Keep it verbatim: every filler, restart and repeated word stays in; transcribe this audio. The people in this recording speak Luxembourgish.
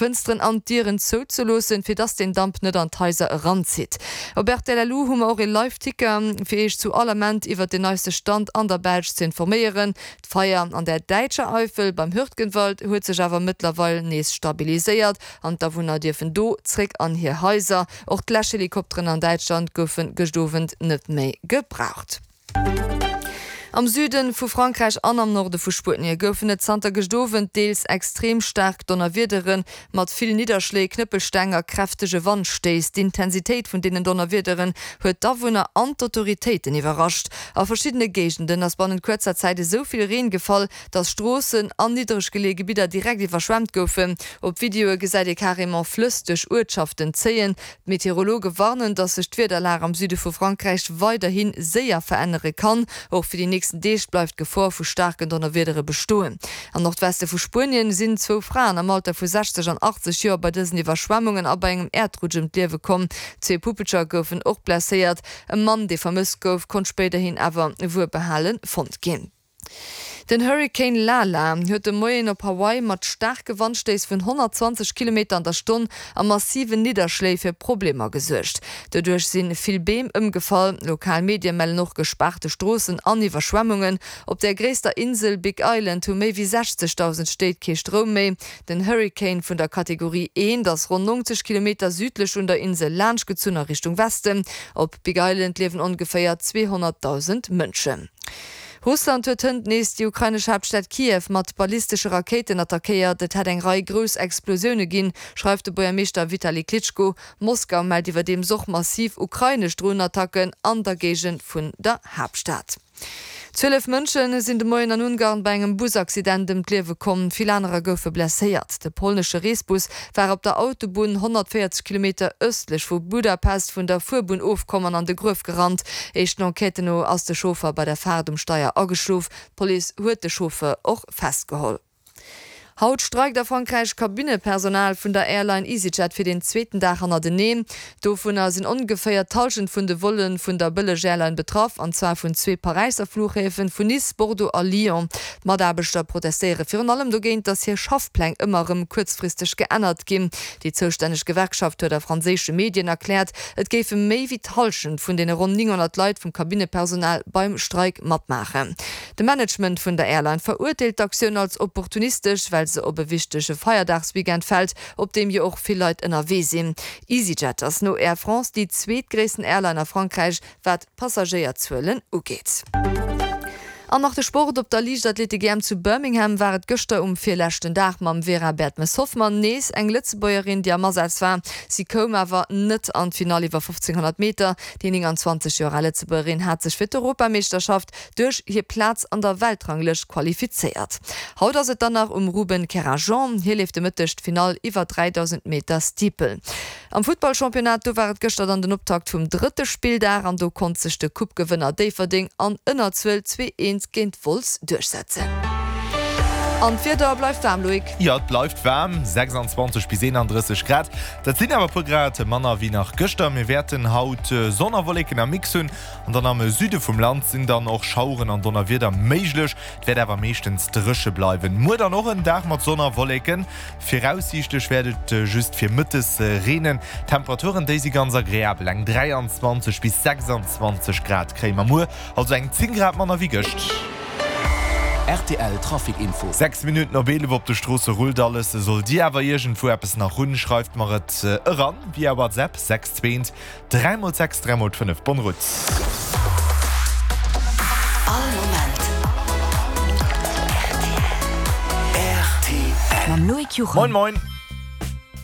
Fënsteren an d'Dieren zouzeloossen, fir dass den Damp net an d'Haiser eranzitt. Op rtl Lu hu mer och ee Live-Ticker, fir Iech zu all Ament iwwert den neiste Stand an der Belsch ze informéieren. D'Feier an der däitscher Eifel beim Hürtgenwald huet sech awer mëttlerweil nees stabiliséiert an d'Awunner dierfen do zréck an hir Haiser. Och d'Läschhelikopteren an Däitschland goufe gëscht Owend net méi gebraucht. Am Süde vu Frankräich an am Norde vu Spuenie goufen et zanter gëscht Owend deels extrem staark Donnerwiedere mat vill Nidderschléi, Knëppelsteng a kräftege Wandstéiss. D'Intensitéit vun deenen Donnerwiederen huet d'Awunner an d'Autoritéiten iwwerrascht. A verschiddene Géigenden ass bannent kuerzer Zäit esou vill Reen gefall, dass Stroossen an niddereg geleeë Gebidder direkt iwwerschwemmt goufen. Op Videoe gesäit ee carrément Flëss duerch Uertschaften zéien. D'Meteorologe warnen, dass sech d'Wiederlag am Süde vu Frankräich weiderhi séier verännere kann. Och fir déi nächsten Deeg bleift d'Gefor vu staarken Donnerwiedere bestoen. Am Nordweste vu Spuenien sinn zwou Fraen am Alter vu sechzeg an achtzeg Joer bei dësen Iwwerschwemmungen a bei engem Äerdrutsch ëm d'Liewe komm. Zwee Puppelcher goufen och blesséiert. E Mann, dee vermësst gouf, konnt spéiderhin awer wuelbehale fonnt ginn. Den Hurrikan Lala huet de Moien op Hawaii mat staarke Wandstéiss vun honnertzwanzeg Kilometer an der Stonn a massiven Nidderschléi fir Problemer gesuergt. Doduerch si vill Beem ëmgefall. Lokal Medie mellen och gespaarte Stroossen an Iwwerschwemmungen. Op der gréisster Insel Big Island hu méi wéi sechzegdausend Stéit kee Stroum méi. Den Hurrikan vun der Kategorie eent ass ronn neunzeg Kilometer südlech un der Insel laanschtgezunn a Richtung Westen. Op Big Island liewen ongeféier zweehonnertdausend Mënschen. Russland huet hënt nees déi ukrainesch Haaptstad Kiew mat ballistesche Rakéiten attackéiert. Et hätt eng Rei grouss Explosioune ginn, schreift de Buergermeeschter Vitali Klitschko. Moskau mellt iwwerdeems och massiv ukrainesch Dronenattacken an der Géigend vun der Haaptstad. Zwielef Mënsche sinn de Moien an Ungarn bei engem Busaccident ëm d'Liewe komm, vill anerer goufe blesséiert. De polnesche Reesbus war op der Autobunn honnertvéierzeg Kilometer ëstlech vu Budapest vun der Fuerbunn ofkomm an an de Gruef gerannt. Éischten Enquêten no ass de Chauffer bei der Faart um Steier ageschlof. D'Police huet de Chauffeur och festgeholl. Haut streikt a Frankräich Kabinnepersonal vun der Airline EasyJet fir den zweeten Dag hannerteneen. Dovunner sinn ongeféier d'Hallschent vun de Volle vun der Bëlleg-Airline betraff, an zwar vun zwee Paräisser Fluchhäfen, vun Nice, Bordeaux a Lyon. D'Mataarbechter protestéiere virun allem dogéint, datt hir Schaffpläng ëmmer erëm kuerzfristeg geännert ginn. Déi zoustänneg Gewerkschaft huet a franséische Medien erkläert, et géife méi wéi d'Hallschent vun deene ronn nénghonnert Leit vum Kabinnepersonal beim Streik matmaachen. De Management vun der Airline verurteelt d'Aktioun als opportunistesch, well se op e wichtege Feierdagsweekend fält, op deem jo och vill Leit ënnerwee sinn. EasyJet ass no Air France déi zweetgréissten Airline a Frankräich, wat d'Passagéierzuelen ugeet. An nach de Sport, Op der Liichtathletik-E M zu Birmingham war et gëschter um virleschten Dag mam Vera Bertmes-Hoffmann nees eng Lëtzebuergerin, déi am Asaz war. Si koum awer net an d'Finall iwwer fofzénghonnert Meter. Déi nénganzwanzeg Joer al Lëtzebuergerin hat sech fir d'Europameeschterschaft duerch hir Plaz an der Weltranglëscht qualifizéiert. Haut ass et dann nach um Ruben Kerajan. Hie leeft de Mëtteg d'Finall iwwer dräidausend Meter Steeple. Am Futtballchampionnat, do war et gëschter dann den Optakt vum drëtte Spilldag an do konnt sech de Coupe-Gewënner Déifferdeng an Ënnerzuel zwee eent géint Wolz duerchsetzen. An d'Wieder bleift waarm, Loïc? Jo, et bleift waarm, sechsandzwanzeg bis eenandrësseg Grad. Dat sinn awer e puer Grad manner wéi nach gëschter. Mir wäerten haut Sonn a Wolleken am Mix hunn an dann am Süde vum Land sinn dann och Schaueren an Donnerwieder méiglech. Et wäert awer meeschtens dréche bleiwen. Muer dann och en Dag mat Sonn a Wolleken. Viraussiichtlech wäert et just virmëttes reenen. D'Temperaturen, déi si ganz agreabel, eng dräianzwanzeg bis sechsanzwanzeg Grad kréie mer muer, also eng zéng Grad manner wéi gëscht. R T L Trafic Info. Sechs Minutten op eelef. Op de Stroosse rullt alles. Sollt Dir awer iergendwou eppes nach hunn, schreift mer et eran via WhatsApp, sechs zwee eent dräi mol sechs dräi mol fënnef. Bonne route. All Moment R T L. Mam Loïc Juchem. Moin moin.